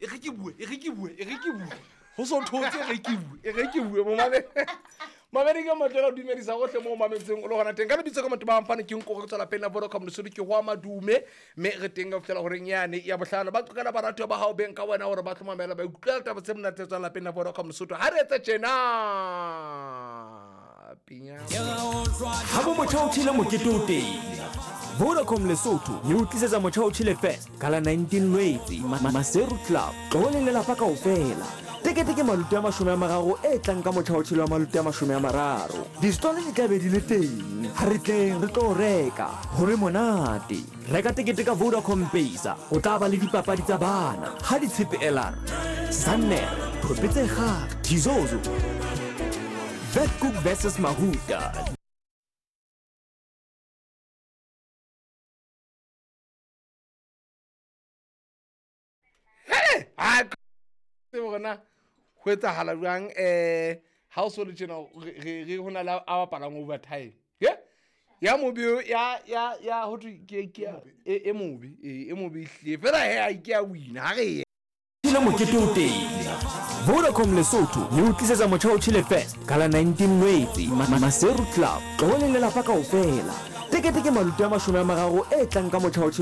E re ke bue, e re ke bue, e re ke bue. Go so thotse e re ke bue, e re ke bue. Momame. Mamedi ke motlela o dumedisa gotlhe mo o mametseng o le gona teng. Ka lebitso ka motho ba mfane ke nko go tswela pele na Vodacom Lesotho ke go ama dume mme re teng ka fihlela horeng yane ya bohlano. Ba qokela baratuwa ba hao beng ka wena hore ba tlo mamela ba ikutlwela taba tse monate tse tswang lapeng la Vodacom Lesotho. Ha re etse tjena. Pinya. Ha bo motjha o tjhele mokete o teng. Vodacom Lesotho e o tlisetsa Motjha o Tjhele Fest ka la 19 Lwetse, Maseru Club. Tloho le lelapa kaofela. Tekete ke maluti a 30 e tlang ka motjha o tjhele wa maluti a 30. Distole di tla be di le teng. Ha re tleng re tlo reka, ho be monate. Reka tekete ka Vodacom Pesa. O tla ba le dipapadi tsa bana, ha ditshepe elar, Sannere, Thope tse kgale, Thizozo, Vetkoek versus Mahuta. Hey, ha tsebe gore na go etsagala jwang um ga o so le tjena re go na le a bapalang overtime ye ya mobe ya ya ya ho thwe ke ke e mobe e mobe ehlile fela he a ke a wina ha re ye Tjhele mokete o teng. Vodacom Lesotho e o tlisetsa Motjha o Tjhele Fest ka la 19 Lwetse, Maseru Club. Tloho le lelapa kaofela. Tekete ke maluti a 30 e tlang ka Motjha o Tjhele.